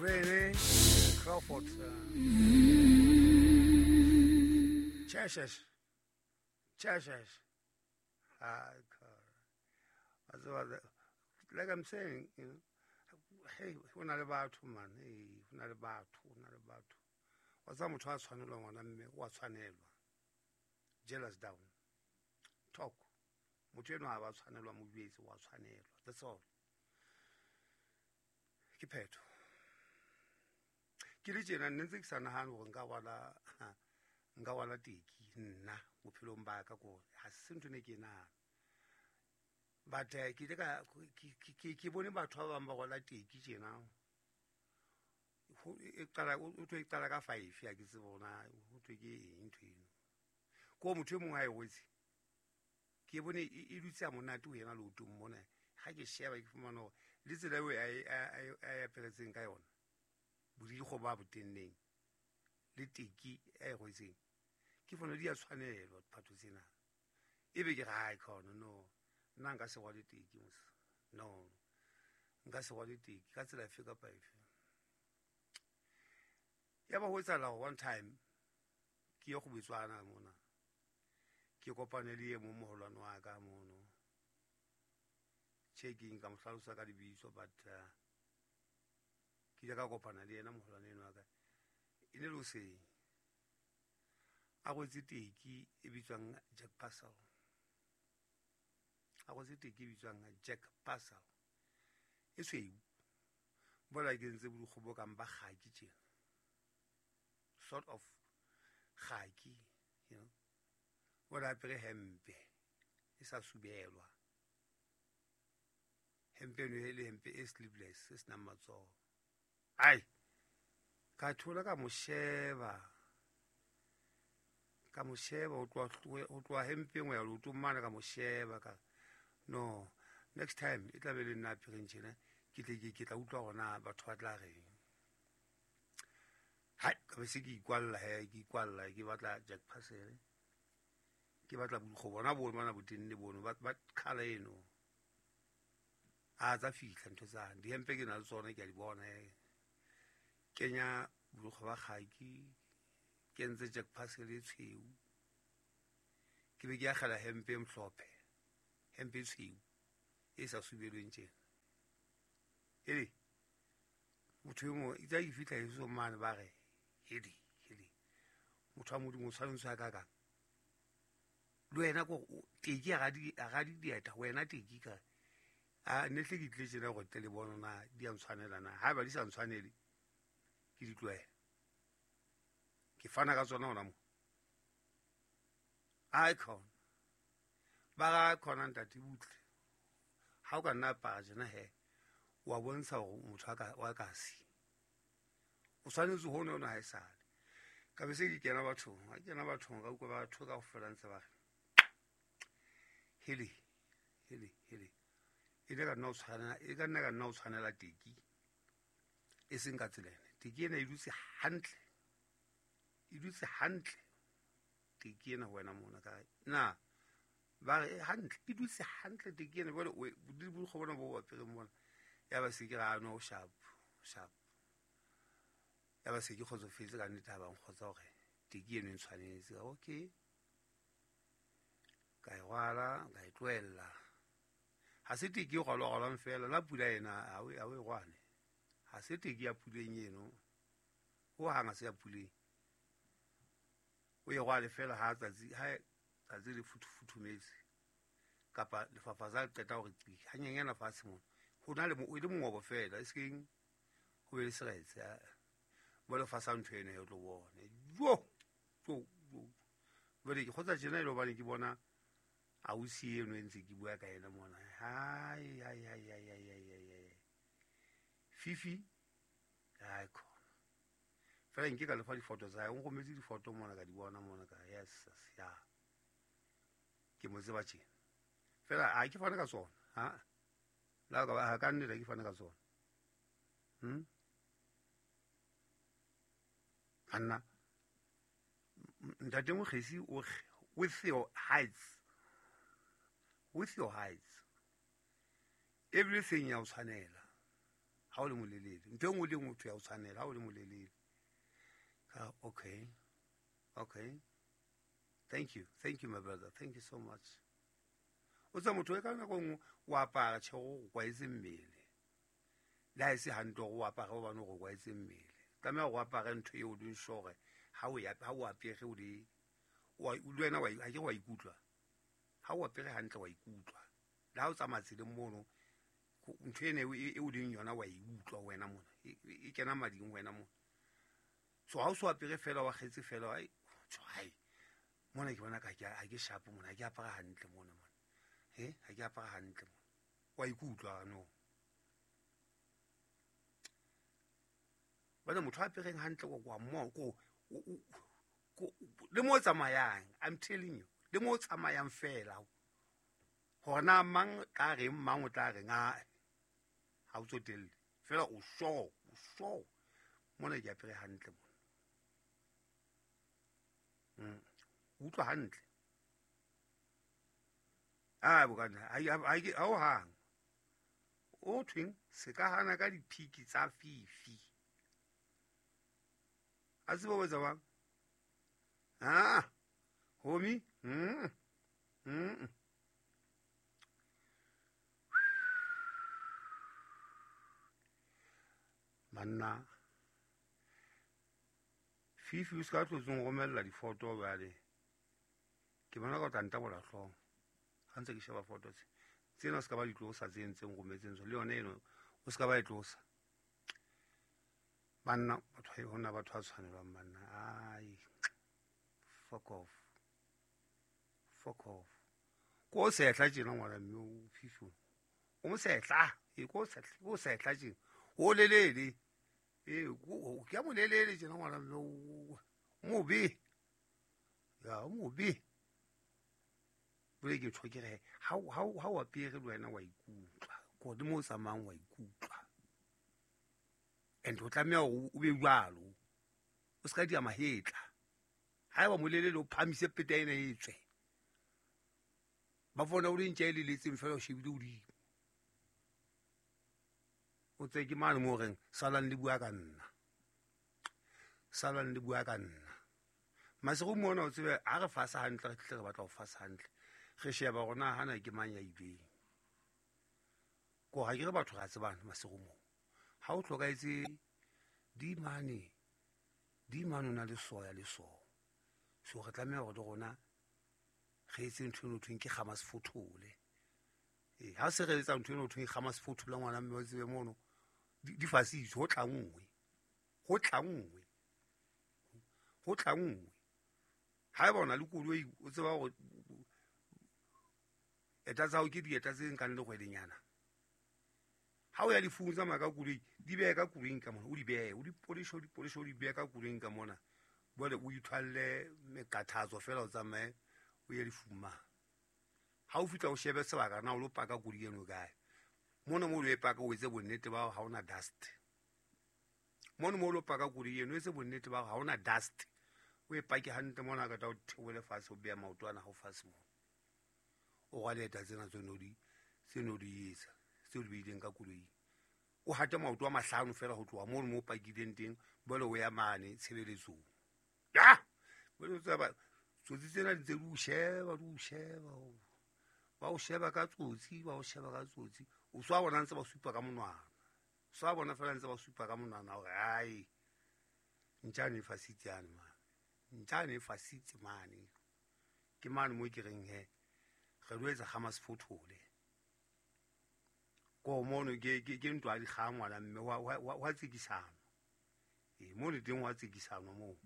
Rene Crawford. Cheshire. Cheshire. Like I'm saying, you know, hey, ho na le batho man, hey, ho na le batho, ho na le batho. Wa tsa motho a tshwanelwa ngwana mme wa tshwanelwa. Jealous down. Talk. Motho eno ha ba tshwanelwa mo jwetse wa tshwanelwa. That's all. Ke phetho. Ke le tjena nne ntse ke sa nahane hore nka rwala teki nna bophelong ba ka ko ha se ntho ne ke nahana. But ke ile ka ke bone batho ba bang ba rwala teki tjena. E qala o tlo e qala ka 5 ya ke tsebe hore ho thwe ke eng ntho eno. Ko motho e mong ha e rwetse. Ke bone e dutse a monate ho yena leotong mona. Ha ke sheba ke fumana hore le tsela eo a aperetseng ka yona. Bodikgo ba botenneng le teki e rwetseng. Ke fona di a tshwanelwa diphatho tsena. Ebe ke re hai khona no. Nna nka se rwale teki mos. No. Nka se rwale teki ka tsela efe kapa efe. Ya ba ho etsahala hore one time ke ye go Botswana mona. Ke kopane le e mong moholwane wa ka mono. Checking ka mo hlalosa ka lebitso but ke ile ka kopana le yena moholwane eno wa ka. E ne le hoseng. A rwetse teki e bitswang Jack Parcel. A rwetse teki e bitswang Jack Parcel. E tshweu. Bola ke ntse borukgo bo kang ba kgaki tjena. Sort of kgaki, you know. Bola apere hempe e sa subelwa. Hempe eno e le hempe e sleeveless e senang matsoho. Ai, ka thola ka mo sheba. Ka mo sheba ho tloha hempeng ho ya leotong mane ka mo sheba ka no next time e tla be le nna apereng tjena ke tle ke tla utlwa hore na batho ba tla reng. Hai, ka be se ke ikwalla he, ke ikwalla ke batla Jack Parcel. Ke batla borukgo bona bo bona botenne bono ba colour eno. A tsa fihla ntho tsane. Dihempe ke na le tsona ke a di bona he. Kenya borukgo ba kgaki, ke entse Jack Parcel e tshweu. Ke be ke akgela hempe e mhlophe, hempe e tshweu e sa subelweng tjena. Ele motho e mong itse ha ke fihla heso mane ba re hedi hedi motho wa Modimo o tshwanetse a ka kang le wena ko teki a ga di dieta wena teki ka a ne hle ke tlile tjena gore tle le bona na di a ntshwanela na haeba di sa ntshwanele ke di tlohele ke fana ka tsona hona mo ai khona ba ga khona ntate butle ha o ka nna apara tjena he wa bontsha hore motho wa kasi o tshwanetse ho nona ha e sale ka be se ke kena bathong ha kena bathong ka utlwa batho kaofela ntse ba re hele hele hele e ne ka nna o tshwanela e ka nna ka nna o tshwanela teki e seng ka tsela ena teki ena e dutse hantle e dutse hantle teki ena ho wena mona ka na ba re hantle e dutse hantle teki ena jwale borukgo bona bo apereng mona ya ba se ke ra no sharp sharp ya ba se ke kgotsofetse ka nnete ha ba nkgotsa hore teki eno e ntshwanetse okay ka e rwala ka e tlohella ha se teki e rwalwa-rwalwang fela la pula ena ha o e rwale ha se teki ya puleng eno ho hang ha se ya puleng o e rwale fela ha tsatsi le futhumetse kapa lefafatsa le qeta hore qi hanyenyana fatshe mona ho na le e le mongobo fela e sekeng ho be le seretse bo le fasa ntho eno e tlo bona jo jo jo jwale ke kgotsa tjena e le hobane ke bona ausi eno e ntse ke bua ka yena mona hai hai hai hai hai hai hai Fifi hai khona fela nke ka lefa difoto tsa hae o nrometse difoto mona ka di bona mona ka yes ya ke mo tseba tjena fela ha ke fane ka tsona ha la ka ha ka nnete ke fane ka tsona Anna ntate Mokgesi o with your heights everything ya o tshwanela. Ha o le molelele ntho e nngwe le nngwe ya o tshwanela ha o le molelele. Okay, okay, thank you, thank you my brother, thank you so much. O tsa motho e ka nako nngwe o apara tjhe go kwaetse mmele, le ha e se hantle gore o apare gobane go kwaetse mmele. Tlameha go apare ntho eo o leng sure ha o apere o le wena ha ke wa ikutlwa. Ha o apere hantle wa ikutlwa. Le ha o tsamaya tseleng mono, ntho ena e o leng yona wa e utlwa wena mona, e kena mading wena mona. So ha o so apere fela wa kgetse fela, hai mona ke bona ka ha ke sharp mona, ha ke apara hantle mona mona. Ha ke apara hantle mona. Wa ikutlwa no. Bana motho a apereng hantle kwa mo ko le mo tsamayang, I'm telling you, le mo tsamayang fela. Hore na mang tla reng, mang o tla reng, ha o tsotelle. Fela o sure, o sure. Mona ke apere hantle mona. Utlwa hantle. Ah, bokana, ha o hang. O thweng se ka hana ka diphiki tsa fifi. A tseba o etsa bang? Ah, homie. Manna fifi o ska tlotsong romella difoto jwale. Ke bona ka o tla ntabola hlooho. Ha ntse ke sheba foto tse. Tsena o ska ba di tlosa tse ntseng rometseng tsona. Le yona eno o ska ba e tlosa. Banna batho hona batho ba tshwanelwang banna. Ai, fuck off. Fuck off. Ko sehla tjena ngwana mme o fifi. O mo sehla, e ko sehla, ko sehla tjena. O lelele. E ko ke a mo lelele tjena ngwana mme o mobe. Ya o mobe. Bole ke tho ke re ha o apere le wena wa ikutlwa. Ko le mo tsamayang wa ikutlwa. And o tlameha o be jwalo. O ska di mahetla. Haeba molelele o phamise peta ena e tswe. Ba bona o le ntja e leletseng fela o shebile hodimo. O tse ke mane mo reng salang le bua ka nna. Salang le bua ka nna. Masego mona o tsebe ha re fasa hantle re tle re batla ho fasa hantle. Re sheba rona hana ke mang ya ileng. Ko ha ke re batho ra tsebana masego mo. Ha o hlokaetse di mane o na le soya le so. So re tlameha hore le rona re etse ntho eno thweng ke kgama sefothole. Ha se re etsa ntho eno thweng kgama sefothole ngwana mme o tsebe mono di fasitse ho tla nngwe. Ho tla nngwe. Ho tla nngwe. Ha e bona le koloi o tseba hore eta tsa hao ke dieta tse nkang le kgwedinyana. Ha o ya lefung tsamaya ka koloi, di behe ka koloing ka mona, o di behe, o di polishe, o di behe ka koloing ka mona. Jwale o ithwalle mekathatso fela o tsamaye o ye lefung mane. Ha o fihla o shebe sebaka na o lo paka koloi eno kae. Mona mo o lo e paka o etse bonnete ba hore ha ona dust. Mona mo o lo paka koloi eno o etse bonnete ba hore ha ona dust. O e pake hantle mona ka tla o theole fatshe o beha maoto ana hao fatshe mona. O rwale eta tsena tse no di etsa, tseo di beileng ka koloing. O hate maoto a mahlano fela ho tloha mono mo o pakileng teng, jwale o ya mane tshebeletsong. Ya! Jwale o tseba tsotsi tsena di ntse di o sheba, di o sheba. Ba o sheba ka tsotsi, ba o sheba ka tsotsi. O so a bona ntse ba supa ka monwana. So a bona fela ntse ba supa ka monwana hore ai ntjane e fasitse yane mane. Ntjane e fasitse mane. Ke mane mo ke reng he. Re lo etsa kgama sefothole. Ko mono ke ntwa di kgang ngwana mme wa tsekisana. Mono teng wa tsekisana moo.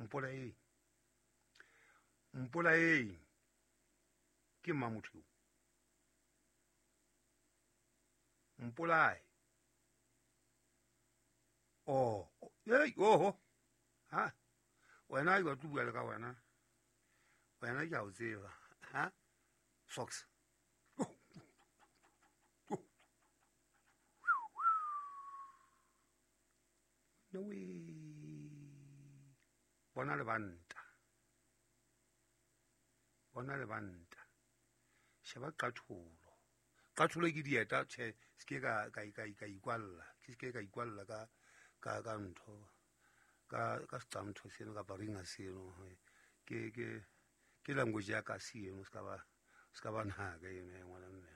Mpolaeng. Mpolaeng. Ke mang motho eo? Mpolae. Oh, hey, oho. Ha? Wena ke batla bua le ka wena. Wena ke a o tseba. Ha? Socks. No way. Bona le banta. Bona le banta. Sheba qatholo. Qatholo ke dieta, tjhe, se ke ka ikwalla. Ke se ke ka ikwalla ka ntho. Ka seqamtho seno kapa ringa seno. Ke language ya kasi eno, se ka ba naka eno ya ngwana mme.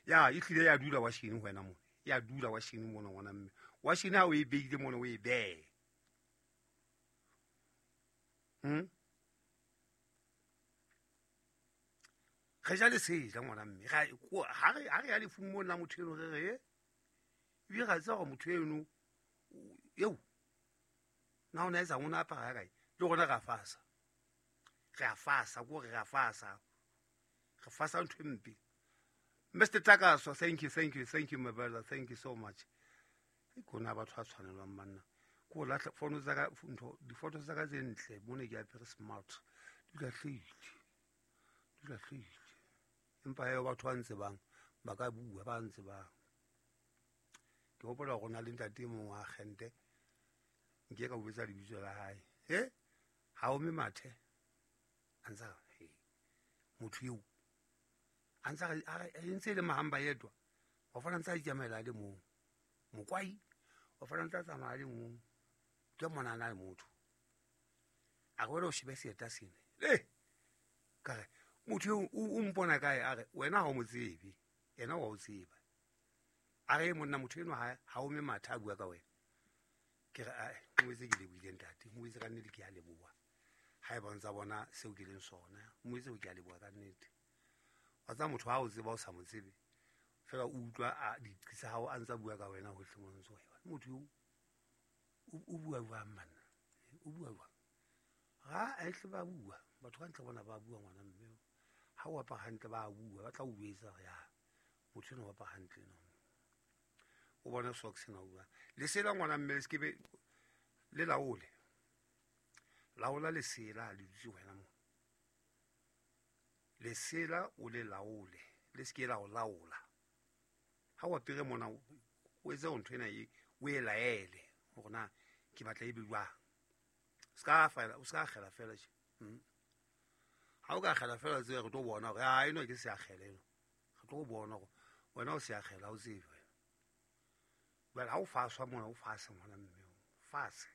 Ya, e hlile ya dula washini ho wena mona. Ya dula washini mona ngwana mme. Washini ha o e beile mona o e behe. Re ja lesela ngwana mme. Ha re ya lefung mona la motho eno re re, ebile ra tseba hore motho eno eo na o na etsa ngwana apara ya kae? Le rona re a fasa. Re a fasa, ko re a fasa. Re fasa ntho e mpe. Mr. Takaso, thank you, thank you, thank you, my brother. Thank you so much. Ke kona batho ba tshwanelwang banna. Ko lahla fono tsa ka ntho, difoto tsa ka tse ntle, mone ke apere smart. Di lahlehile. Di lahlehile. Empa eo batho ba ntsebang ba ka bua, ba ntsebang. Ke hopola hore na le ntate e mong wa agente, nke ka botsa lebitso la hae. He? Ha o me mathe. A ntsa he. Motho eo a ntsa a ntse le mahamba yedwa. Wa fana ntsa itsamaela le mong. Mokwai wa fana ntsa tsamaya le mong. Ke mona na le motho. A re wena o shebe seeta sena. Le ka re motho eo o mpona kae? A re wena ha o mo tsebe, yena wa o tseba. A re monna motho eno ha o me mathe a bua ka wena. Ke re ae, mo etse ke lebohile ntate, mo etse ka nnete ke a leboha. Ha e bontsa bona seo ke leng sona, mo etse ke a leboha ka nnete. Wa tseba motho ha o tseba o sa mo tsebe, fela o utlwa a diqi tsa hao a ntsa bua ka wena hohle mo ntso. Motho eo o bua jwang manna? O bua jwang? Ha a ehle ba bua, batho ka ntle bona ba bua ngwana mme. Ha o apara hantle ba bua, ba tla o jwetsa hore ya motho eno o apara hantle no. O bona socks na bua. Lesela ngwana mme le sekebe le laole. Laola lesela le dutse wena mo. Lesela o le laole, le seke la o laola. Ha o apere mona o etse ntho ena e o e laele hore na ke batla e be jwang. Ska fela, o ska kgela fela tje. Ha o ka kgela fela tse re tlo bona hore ha eno ke se a kgela eno. Re tlo bona hore wena o se a kgela o tsebe wena. Jwale ha o faswa mona o fase ngwana mme, o fase.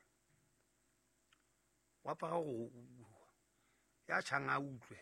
Wa apara hore ya tjhang a utlwe.